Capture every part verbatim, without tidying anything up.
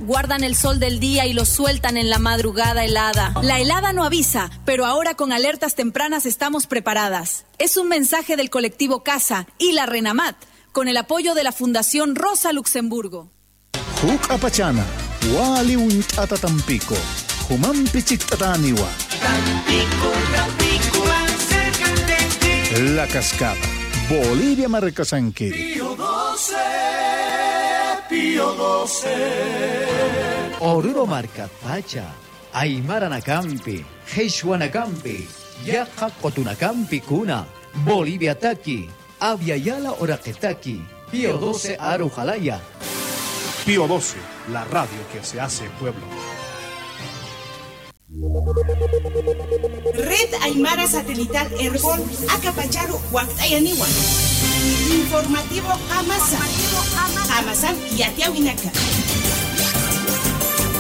Guardan el sol del día y lo sueltan en la madrugada helada. La helada no avisa, pero ahora con alertas tempranas estamos preparadas. Es un mensaje del colectivo Casa y la Renamat, con el apoyo de la Fundación Rosa Luxemburgo. Juk'apachana, wali uñt'ata Tampico, jumampi chikt'atäniwa. Tampico, Tampico, más cerca de ti. La Cascada, Bolivia markasankiri. Pío doce, Pío doce. Oruro markatpacha, aymaranakampi, qhichwanakampi, yaqha qutunakampi kuna, Boliviataki, Abya Yala uraqitaki, Pío doce aru jalaya. Pío doce, la radio que se hace pueblo. Red Aymara Satelital Erbol, akapacharu wakt'ayaniwa. Informativo Qamasa. Qamasan yatiyawinaka.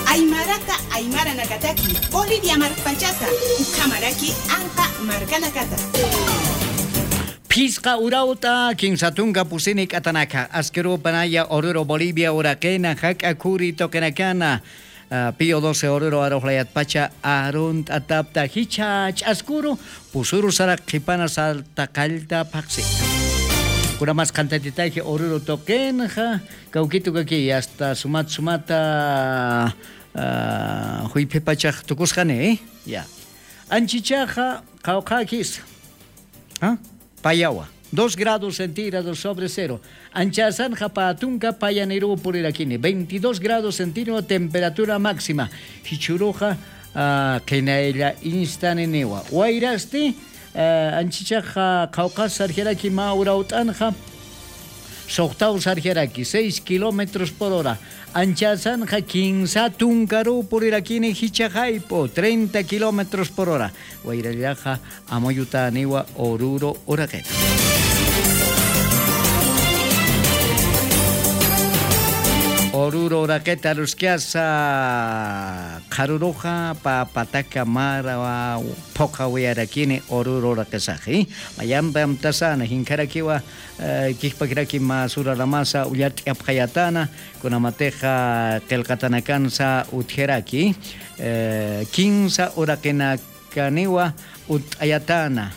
Aymarata, aymaranakataki, Bolivia markpachata, ukhamaraki anqa markanakata. Phisqa urawt'a, kinsa tunka pusini k'atanaka, askirupanaya Oruro Bolivia uraqina, jak'a khuri tuqinakana, ah, Pío doce Oruro arujlayatpacha arunt'atapta, jichha ch'askuru, pusuru sarak qhipana salta qallta phaxsi. Kunamas qhantatitaji Oruro tuqinxa, kawkitu kaki, hasta sumat sumata, ah, juyphipachax tukusqani, ya. Anchichaxa, qawqhakis. ¿Ah? Payawa, dos grados centígrados sobre cero. Anchasanxa pä tunka payaniruw purirakini, veintidós grados centígrados temperatura máxima. Jichhüruxa, ah, qhinaylla instaniniwa. Wayrasti, ah, anchichaxa qhawqhas sarjiraki mä urawt'anxa, suxtaw sarjiraki, seis kilómetros por hora. Anchasanxa kinsa tunkaruw purirakini jichha jayp'u, treinta kilómetros por hora. Wayrallaxa amuyutäniwa Oruro uraqita. Oruro uraqita aruskasa, qharuruxa pä pataka mara phuqhawiyarakini Oruro uraqisaxi. Mayampi amtasana, jinkharakiwa, eh, kijpakiraki mä sura lamasa ullart'iyapxayatäna, kunamatixa qillqatanakansa utjaraki, eh, kinsa uraqinak kaniwa utt'ayatäna,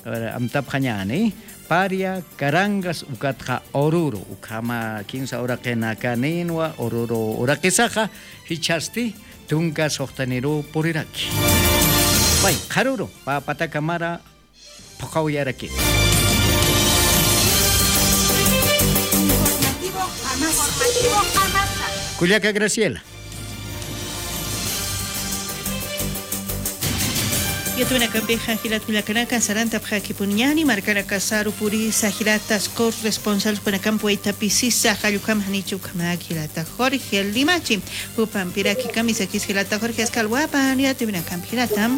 eh, amtapxañäni, Paria, Carangas, ukatxa Oruro, ukhama kinsa uraqinakaninwa Oruro uraqisaxa, jichhasti tunka suxtaniruw puriraki. Pay, qharuru, pä pataka mara phuqhawiyaraki. Kullaka Graciela. Yatiyawinakampixa jilat kullakanaka, sarantapxakipuniñäni, markanakasaru purisa jilata Scott responsables panakampi waytapisisa, jall ukham janicha ukhamak jilata Jorge Limachi, jupampiraki kamisakis jilata Jorge, askha alwapan yatiyawinakampi jilata.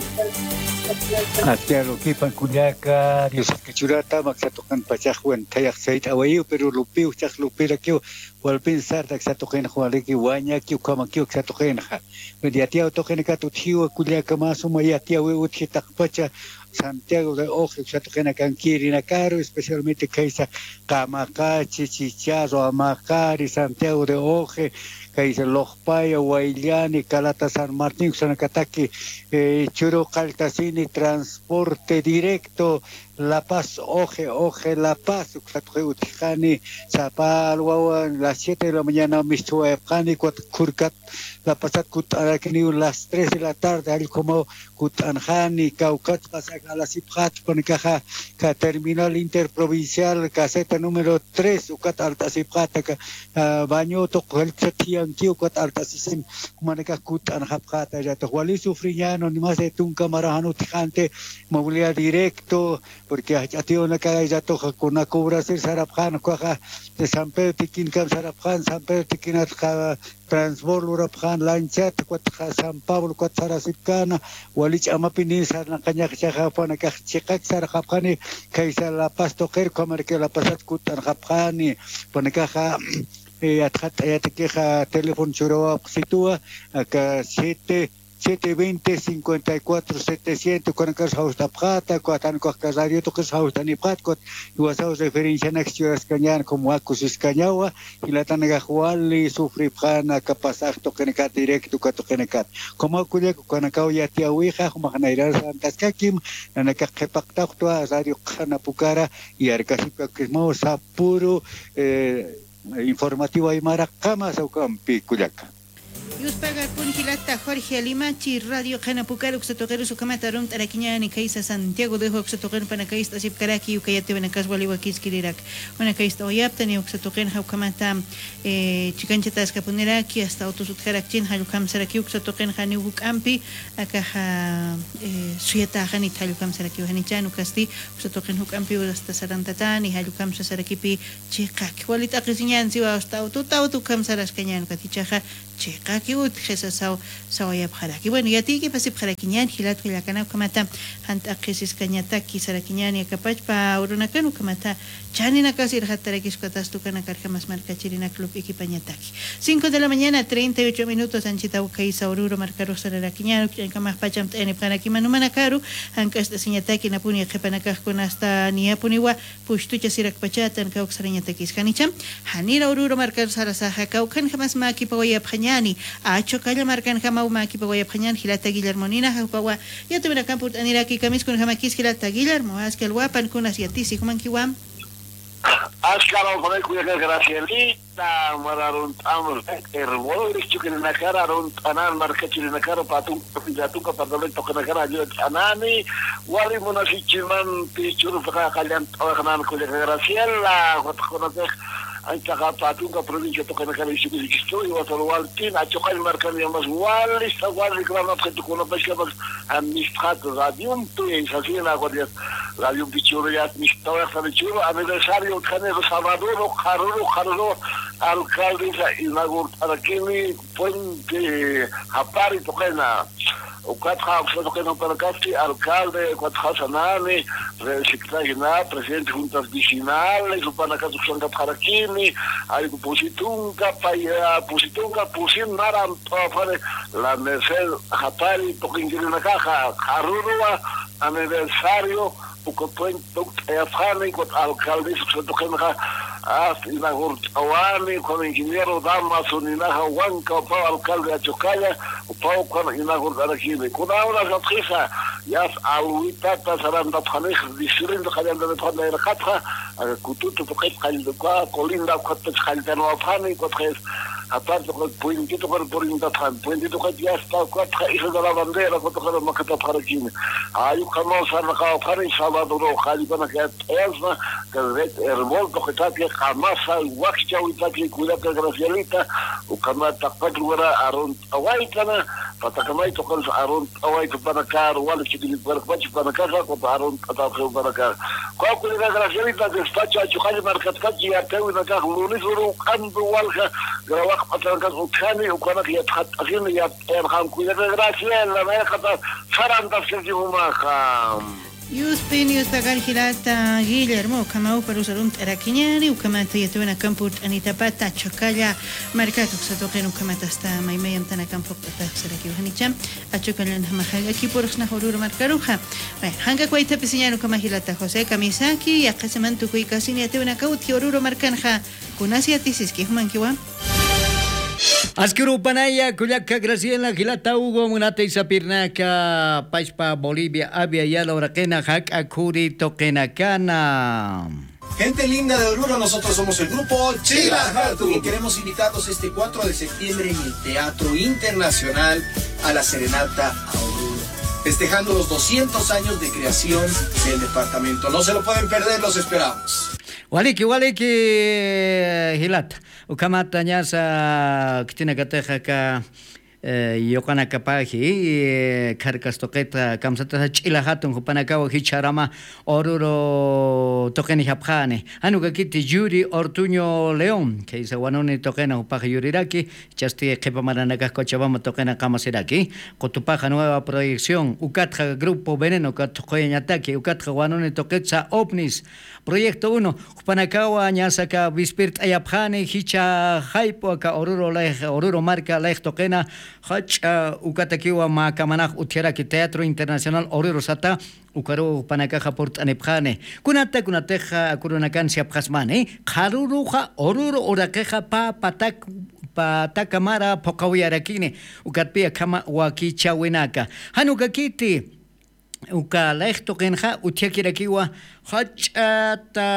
Askha alwapan kullaka, Dios kachurata, aksa tuqinpachax wan thayax sayt'awayiw, pero lupiw, jichhax lupirakiw, walpin sarta aksa tuqinxa waliki wañaki, ukhamakiw aksa tuqinxa. Yatiyaw tuqinakat utjiwa kullaka, mä suma yatiyawi utji taqpacha Santiago de Oje, aksa tuqinakankiri, inakaru, especialmente khaysa Qamaqachi, Chicharu, Amaqari, Santiago de Oje, khaysa Lojpaya, Wayllani, Calata, San Martín, uksanakataki, eh, churu qalltasini transporte directo, La Paz, Oje, Oje, La Paz, uksa tuqi utjani, sapa alwawan las siete de la mañana misthuwayapxani, ukat khurkat La Pazat kutt'arakiniw las tres de la tarde, jall ukhamaw kutt'anxani, kawkhat pasaka alasipxät, jupanakaxa, ka terminal interprovincial, caseta número tres, ukat alt'asipxät, aka, ah, baño tuq jallpsat jiyankiw, ukat alt'asisim, jumanakax kutt'anxapxät, jallatoq wali sufriñäni, ni más de tunka mara jan utjxanti, movilidad directo, porque jach'a tiyunaka jallatoxa kuna cobrasir sarapxän, ukaxa de San Pedro Tiquincam sarapxän, San Pedro Tiquinatxa transbor lurapxän, lanchata, ukatxa San Pablo, ukat sarasipkäna, wali ch'amapini sarnaqañax, jichhaxa jupanakax chiqak sarxapxani, khaysa La Paz tuqir, ukhamaraki La Pazat kutt'anxapxani, jupanakaxa, eh, yatxatt'ayatakixa teléfono churawapxsituwa, aka siete siete veinte, cincuenta y cuatro, setecientos, ukanakar jawst'apxäta, ukat jan ukax radio tuqis jawst'anipxäta, ukat jiwasaw referencianak churaskañän, como akusiskañawa, jilatanakax wali sufripxän aka pasaje tuqinakat, directo uka tuqinakat. Como kullaka ukanakaw yatiyäwixa, jumax nayrar sarantaskakim, nanakax qhipaqtawktwa radio qhanapukara, y arkasipkakismaw sapüru, eh, informativo aymaraqama sawkampi kullaka. Yuspagarpun jilata Jorge Limachi, radio qhanapukar uksa tuqirus ukhamata arunt'arakiñäni, khaysa Santiago de uksa tuqir panakayst'asipkaraki, uka yatiyäwinakas wali wakiskirirak. Panakayst'awayaptani uksa tuqinxa ukhamata, eh, chikanchataskapuniraki, hasta autos utjarakchin, jall ukhamsaraki uksa tuqinxa janiw juk'ampi, akaxa, eh, suyatäxanit jall ukhamsarakiw, janichän ukasti uksa tuqin juk'ampiw hasta sarantatäni, jall ukham sasarakipi chiqaki. Wali t'aqhisiñän siwa, hasta auto, auto ukham saraskañän ukat, jichhaxa chiqaki utjisa saw-, sawayapxaraki. Bueno, yatiykipasipxarakiñän, jilat kullakanaka, ukhamata jan t'aqhisiskañataki sarakiñäni, aka pachpa urunakan ukhamata chaninakas irxattarakis ukatasti ukanakarjamas markachirinak lup'ikipañataki. Cinco de la mañana, treinta y ocho minutos, anchhitaw khaysa Oruro markarux sararakiñäni, ukch'añkamax pachamt'ayanipxarakima numanakaru, jank'acht'asiñataki, napuni qhipanakax kunasta niyapuniwa, pushtuchasirakpachätan kawksarañatakis. Janicha, janira Oruro markar sarasaxa, kawkhanjamas mäkipawayapxañäni, Achokalla markanjamaw mäkipawayapxañän, jilata Guillermo nina, jupawa yatiyäwinakamp urt'aniraki, kamiskunjamakis jilata Guillermo, askha alwapan, kunas yatisi, jumankiwa. Askha alwapan kullaka Gracielita, mara arunt'am, hermano, chukirinakara arunt'anan, markachirinakara, patun, patun, patun, tuqinakara, ayuda t'anani, wali munasichimampi, churpaqa qallant'awaqnan kullaka Graciela, jupax kunapix, anchaqa patunka provincia tuqinakara, ichhukusikistu, iwasar waltin, Achokalla markan yamas, wali, wali, grama, tukunapashkapas, amistad, radiompi, sasina, guardias, radiompi churuyat, mistawayaq, sani churu, aniversario, utjani, sabadoro, qharuru, qharuru, alcaldesa, inaugurtarakini, puente, japari, tuqina. Ukatxa, uksa tuqina, upanakasti, alcalde, ukatxa sanani, reciclagina, presidente juntas vecinales, upanakat uksankapxarakini, ay, pusi tunka, pay, ah, pusi tunka, pusin naran, tawapani, la merced, japari, tuqinkirinakaxa, qharuruwa, aniversario, uka puente tukt'ayapxani, ukat alcaldes, uksa tuqinxa, hasta inaugurt'awani, ukan ingeniero Damaso ninaxa, wanka, upaw alcalde Achokalla, upaw ukan inaugurt'arakini. Kuna unas atxisa, yas alwitata sarantapxanix, diferente qallantapxani irqatxa, aka Kututu tuqit qallta, uka Colinda, ukatpach qalltanwapxani, ukatxa, aparte, uka puente tuqir purintatxani, puente tuqit yasta, ukatxa Isla de la Bandera, uka tuqir makatapxarakini. Ay, ukhamaw sarnaqawapxani, sabadoro, qallpanaka yat'ayasma, red herbol tuqitaki, qamasa, wakchawitaki, kullaka Gracielita, ukhamat taqpach lugar arunt'awaytana, patakamay tuqirus arunt'awayta upanakar, wali chikillitparkpach upanakaxa, ukat arunt'atapxi upanakar. Uka kullaka Gracielita, despacho Achokalla markatpach yatiyäwinakax, lunes uru uk'ampi walja, grabaq p'atanakas utjani, ukanak yatxatt'asini, yat'ayarxam kullaka Graciela, nayraqata sarantaskaki jumaxa. Yuspin, yuspagar jilata Guillermo, ukhamaw uparus arunt'arakiñäni, ukhamata yatiyäwinakamp urt'anitapata Achokalla markat uksa tuqin ukhamat hasta maymay amtanakamp phuqt'atax sarakiw janicha, Achokallanjamax jank'akipurxsnax Oruro markaruxa. Bueno, jank'ak waythapisiñäni ukhama jilata José Kamisaki, yaqha semana tukuykasin yatiyäwinakaw utji Oruro markanxa, kunas yatisiski, jumankiwa. Askuru panaya, kullaka Graciela, jilata Hugo, munatay sapirnaka, pachpa Bolivia, Abya Yala uraqina, jak'a khuri tuqinakana. Gente linda de Oruro, nosotros somos el grupo Chila Hatun. Y queremos invitarlos este cuatro de septiembre en el Teatro Internacional a la Serenata a Oruro, festejando los doscientos años de creación del departamento. No se lo pueden perder, los esperamos. Waliki, waliki, jilata. Ukhamata ñasa khitinakatix aka, eh, yuqanakapaji, eh, kharkas tuqita kamsatasa Ch'ila Hatun jupanakawa jichharama Oruro tuqinijapxani. Jan ukakiti Yuri Ortuño León, khaysa Wanuni tuqina jupax yuriraki, jichhasti qhipa maranakax Cochabamba tuqina qamasiraki. Qutupaxa nueva proyección, ukatxa Grupo Veneno, ukat thuqhuyañataki, ukatxa Wanuni tuqitsa Ovnis, Proyecto uno, jupanakawa ñasa aka wispirt'ayapxani, jichha jayp'u aka Oruro layx, Oruro marka layx tuqina, Jach'a ukatakiwa mä kamanax utjaraki Teatro Internacional Oruro sata, ukaruw jupanakaxa purt'anipxani. Kunata kunatixa kurunakan siyapxasmani, qharuruxa Oruro uraqixa pä patak, pä pataka mara phuqawiyarakini, ukatpi akhama wakichäwinaka. Jan ukakiti, uka layx tuqinxa utjakirakiwa jach'ata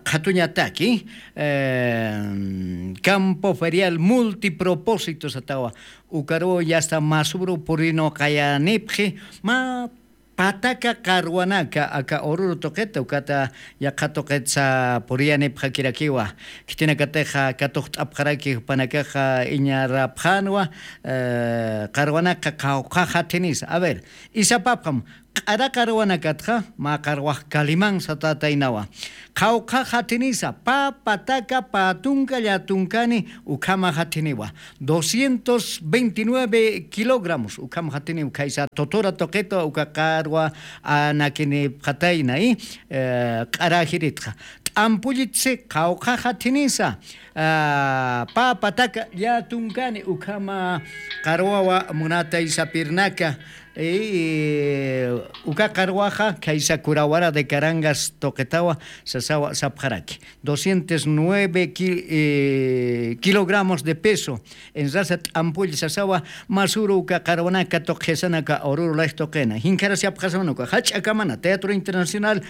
qhatuñataki, eh, campo ferial multipropósito satawa, ukaruw yasta masubru purinu qayanipxi, mä pataka qarwanaka aka Oruro tuqita, ukata yaqha tuqitsa puriyanipxakirakiwa. Khitinakatixa katuqt'apxaraki jupanakaxa iñarapxänwa, eh, qarwanaka qawqhax athinisa. A ver, isapapxam, q'ara qarwanakatxa mä qarwax Calimán satätaynawa. Qawqhax athinisa, pä pataka pä tunka llätunkani ukhamax athiniwa. Doscientos veintinueve kilogramos ukhamax athiniwa, khaysa Totora tuqita uka qarwa anakinipxatayna, eh, q'arajiritxa. T'ampullitsi qawqhax athinisa, ah, pä pataka llätunkani ukhama qarwawa munatay sapirnaka, eh, uka qarwaxa khaysa Curawara de Carangas tuqitawa sasawa sapxaraki. Doscientos nueve ki-, eh, kilogramos de peso, enrasa t'ampull sasawa, masuru uka qarwanaka tuqisana aka Oruro layx tuqina. Jinkharasi apxasaman uka jach'a kamana Teatro Internacional,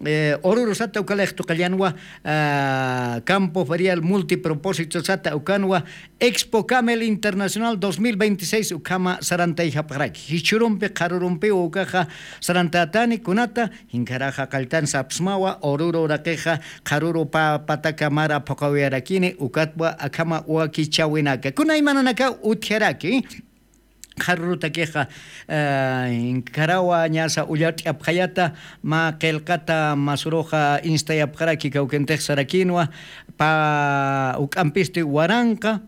eh, Oruro sata uka layx tuqillanwa, ah, Campo Ferial Multipropósito sata ukanwa, Expo Camel Internacional dos mil veintiséis ukhama sarantayxapxaraki. Jichhürumpi qharürumpiw ukaxa sarantätani, kunata, jinkharaxa qalltan sapsmawa, Oruro uraqixa qharüru pä pataka mara phuqawiyarakini, ukatwa akhama wakichäwinaka. Kunaymananakaw utjaraki, qharürutakixa, eh, inkharawa ñasa ullart'apxayata, mä qillqata masuruxa instayapxaraki kawkintix sarakinwa, pä juk'ampisti waranqa,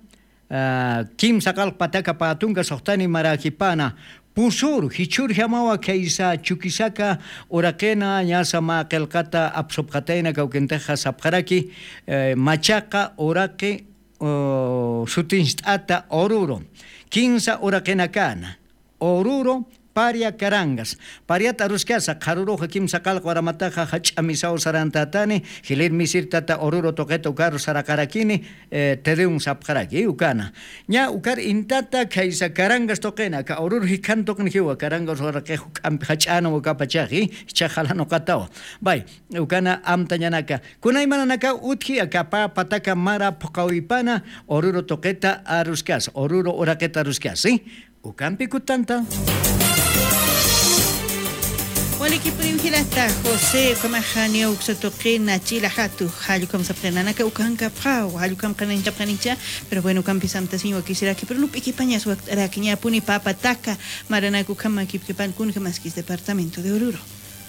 ah, kimsa qallq pataka pä tunka suxtani maräkipana, pusüru, jichhürjamawa khaysa Chuquisaca uraqina, ñasa mä qillqata apsupxatayna kawkintixa sapxaraki, eh, machaqa uraqi, oh, sutincht'ata Oruro, kinsa uraqinakana, Oruro, Paria, Carangas. Pariat aruskasa, qharüruxa kimsa qallq waramataxa jach'a misaw sarantätani, jilïr misir tata Oruro tuqita ukaru saraqarakini, eh, Tedeum sapxaraki, ukana. Ña ukar intata khaysa Carangas tuqina, aka Oruro jikhan tuqin jiwa, Carangas uraqix juk'ampi jach'änwa ukapachaxi, jichhax jalanuqatawa. Bay, ukana amtañanaka. Kunaymananakaw utji aka pä pataka mara phuqawipana, Oruro tuqita aruskasa, Oruro uraqita aruskasa, ¿sí? Ukampi kutanta. Walikipuniw jilata José, ukhamaxa niya uksa tuqina chila jatu, jall ukham sapxi nanaka ukankapxaw, jall ukham qananchapxanicha, pero bueno, ukampi samtasiñ wakisiraki, pero lup'ikipañas wakt'araki, ñapuni pä pataka maranak ukham makipkipan kunjamaskis departamento de Oruro.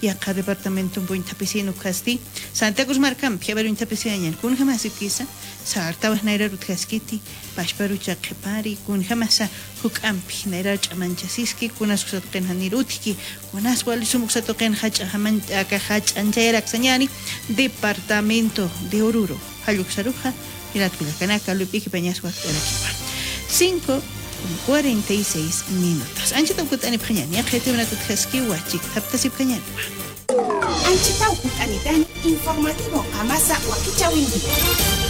Yaqha departamentompi uñthapisin ukhasti, Santa Cruz markampi, a ver, uñthapisañan, kunjamasipkisa, sartawa nayrar utjaskiti, pachparucha qhipari, kunjamasa juk'ampi, nayrar ch'amanchasiski, kunas uksa tuqin janir utjki, kunas wali sum uksa tuqin jach'a jaman-, aka jach'anchayaraksañani, departamento de Oruro. Jall uksaruxa, jilat kullakanaka, lup'ikipañas wakt'arakiwa. Cinco con cuarenta y seis minutos. Anchata ukut'anipxañani, yaqha yatiwinakutjaskiwa, chikthaptasipxañaniwa. Anchata ukut'anitani, informativo qamasa wakichäwinki.